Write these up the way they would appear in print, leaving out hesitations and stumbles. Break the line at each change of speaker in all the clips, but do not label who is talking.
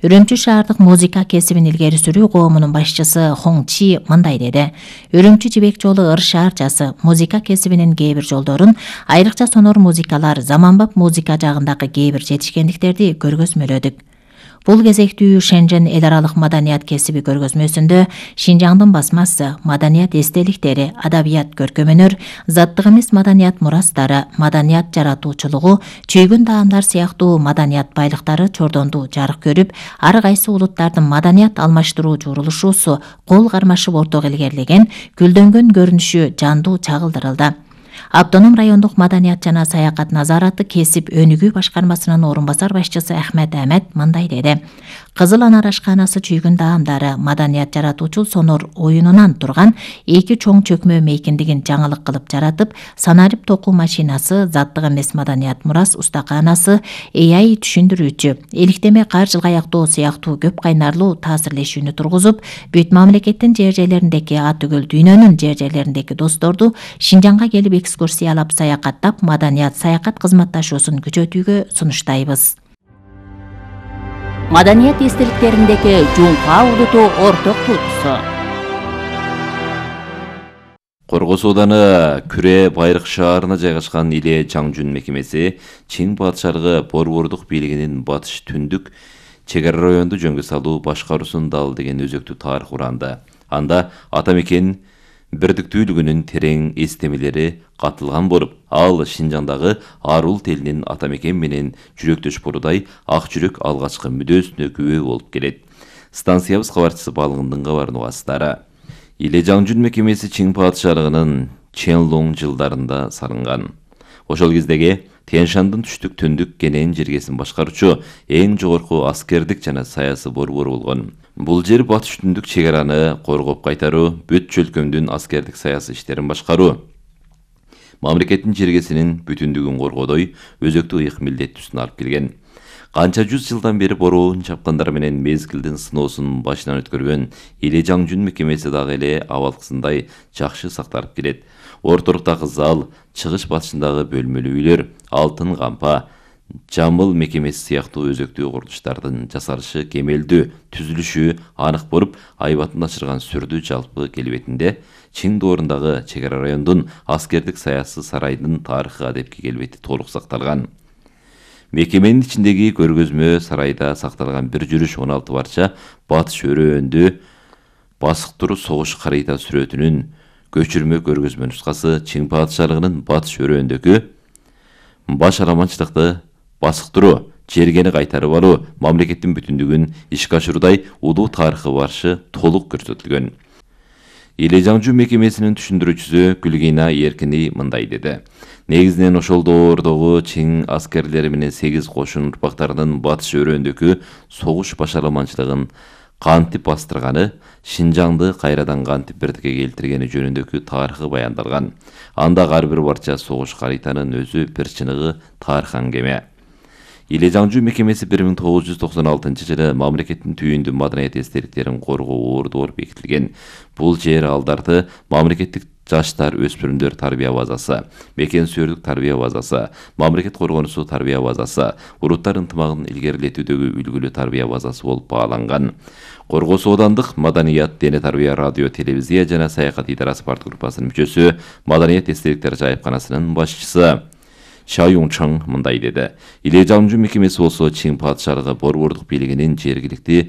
Үрүмчү шаардык музыка кесибин илгери сүрүү коомунун башчысы Хон Чи мындай деди. Үрүмчү жибек жолу ыр шаарчасы музыка кесибинин кээ бир жолдорун, айрыкча сонор музыкалар, заманбап музыка жагындагы кээ бир жетишкендиктерди көргөзмөлөдүк. Бул кезектүү Шэньчжэн эл аралык маданият кесиби көргөзмөсүндө Шинжаңдын басмасы, маданият эстеликтери, адабият көркөм-өнөр, заттык эмес маданият мурастары, маданият жаратуучулугу, чүйгүн даамдар сыяктуу маданият байлыктары чордондуу жарык көрүп, ар кайсы улуттардын маданият алмаштыруу журулушуусу кол кармашып ортого илгерилеген гүлдөнгөн көрүнүшү жандуу чагылдырылды. Автоном райондук маданият жана саякат назараты кесип өнүгүү башкармасынын орун басар башчысы Ахмет Ахмет мындай деди. Кызыл Анар ашканасы чүйгүн даамдары маданият жаратуучул сонор оюнунан турган эки чоң чөкмө мейкиндигин жаңылык кылып жаратып, санарип токуу машинасы, заттык эмес маданият мурас устаканасы, AI түшүндүрүүчү, эликтеме кар жылгаяктоо сыяктуу көп кайнарлуу таасирлешүүнү тургузуп, бүт мамлекеттин жер жерлериндеги түгөл дүйнөнүн жер жерлериндеги досторду Шинжаңга келип экскурсиялап саякаттап, маданият саякат кызматташуусун күчөтүүгө сунуштайбыз.
Маданият эстеликтериндеги Жуңка улуту орток туутусу.
Коргос ауданы Күрэ Байрык шаарына жайгашкан Иле Жаңжүн мекемеси Чиң падышалыгы борбордук бийлигинин батыш түндүк чек ара районду жөнгө салуу башкаруусун дал деген өзөктүү тарых уранды. Анда ата мекен бирдиктүүлүгүнүн терең эстемелери катылган болуп, ал Шинжаңдагы арул телинин ата мекен менен жүрөктөш болуудай ак жүрөк алгачкы мүдөөсүнө күбө болуп келет. Станциябыз кабарчысы балыгындын кабарын угасыздары. Иле Жаңжүн мекемеси Чиң падышалыгынын Ченлоң жылдарында салынган. Ошол кездеги Тянь-Шандын түштүк түндүк кенен жергесин башкаруучу эң жогорку аскердик жана саясий борбору болгон. Бул жер батыш түндүк чек араны коргоп кайтаруу, бүт чөлкөмдүн аскердик саясий иштерин башкаруу, мамлекеттин жергесинин бүтүндүгүн коргоодой өзөктүү ыйык милдеттүүсүн алып келген. Канча жүз жылдан бери бороон чапкандар менен мезгилдин сыноосун башынан өткөргөн Иле Жаңжүн мекемеси дагы эле абалкысындай жакшы сакталып келет. Ортолуктагы зал, чыгыш батышындагы бөлмөлүү үйлөр, алтын кампа, жамыл мекемеси сыяктуу өзөктүү курулуштардын жасалышы кемелдүү, түзүлүшү анык болуп, айбатын ачырган сүрдүү жалпы келбетинде Чиң доорундагы чек ара райондун аскердик саясий сарайдын тарыхы адепки келбети толук сакталган. Мекеменин ичиндеги көргөзмө сарайда сакталган бир жүрүш 16 парча батыш өрөөндө басыктыруу согуш карыйта сүрөтүнүн көчүрмө көргөзмө нускасы Чиң падышалыгынын батыш өрөөндөгү баш аламанчылыкты басыктыруу, жергени кайтарып алуу, мамлекеттин бүтүндүгүн ишке ашыруудай улуу тарыхы баршы толук көрсөтүлгөн. Иле Жаңжүн мекемесинин түшүндүрүүчүсү Гүлгина Эркини мындай деди. Негизинен ошол доордогу Чиң аскерлери менен 8 кошун урпактарынын батыш өрөөндөгү согуш башаламанчылыгын кантип бастырганы, Шинжаңды кайрадан кантип бирдикке келтиргени жөнүндөгү тарыхы баяндалган. Анда ар бир парча согуш карыйтанын өзү бир чыныгы тарых аңгеме. Иле Жаңжүн мекемеси 1996 жылы мамлекеттин түйүндүү маданият эстеликтерин коргоо ордур бекитилген. Бул жер алдарды мамлекеттик жаштар өспүрүмдөр тарбия базасы, мекен сүйөрдүк тарбия базасы, мамлекет коргонусу тарбия базасы, улуттар ынтымагын илгерилетүүдөгү үлгүлүү тарбия базасы болуп бааланган. Коргос аудандык маданият, дене тарбия, радио, телевизия жана саякат идарасы партгруппасынын мүчөсү, маданият эстеликтер жайыпканасынын башчысы Шаюңчаң мындай деди. Иле Жаңжүн мекемеси болсо Чиң падышалыгы борбордук бийлигинин жергиликтүү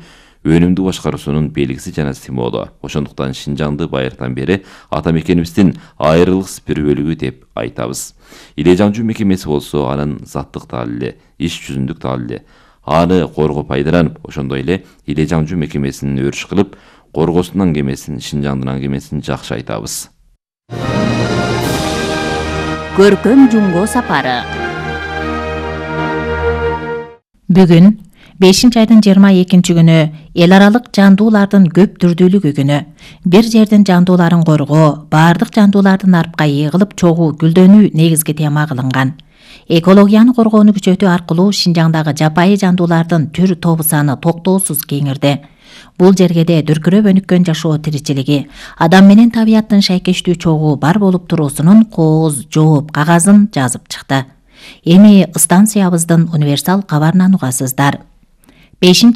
өнүмдүү башкаруусунун белгиси жана символу. Ошондуктан Шинжаңды байыртан бери ата мекенибиздин айрылыксыз бир бөлүгү деп айтабыз. Иле Жаңжүн мекемеси болсо анын заттык далили, иш жүзүндүк далили. Аны коргоп пайдаланып, ошондой эле Иле Жаңжүн мекемесин өрүш кылып, Коргостун аңгемесин, Шинжаңдын аңгемесин жакшы айтабыз.
Көркөм Жумго сапары.
Бүгүн 5-айдын 22 күнү эл аралык жандуулардын көп түрдүүлүгү күнү. Бир жердин жандууларын коргоо, баардык жандуулардын арпка ийгилип чогуу гүлдөнүү негизги тема кылынган. Экологияны коргоону күчөтүү аркылуу Шинжаңдагы жапайы жандуулардын түр тобу саны токтоосуз кеңирди. Бул жергеде дүркүрөп өнүккөн жашоо тиричилиги, адам менен табияттын шайкештүү чогуу бар болуп туруусунун кооз, жооп, кагазын жазып чыкты. Эми станциябыздын универсал кабарынан угасыздар. 5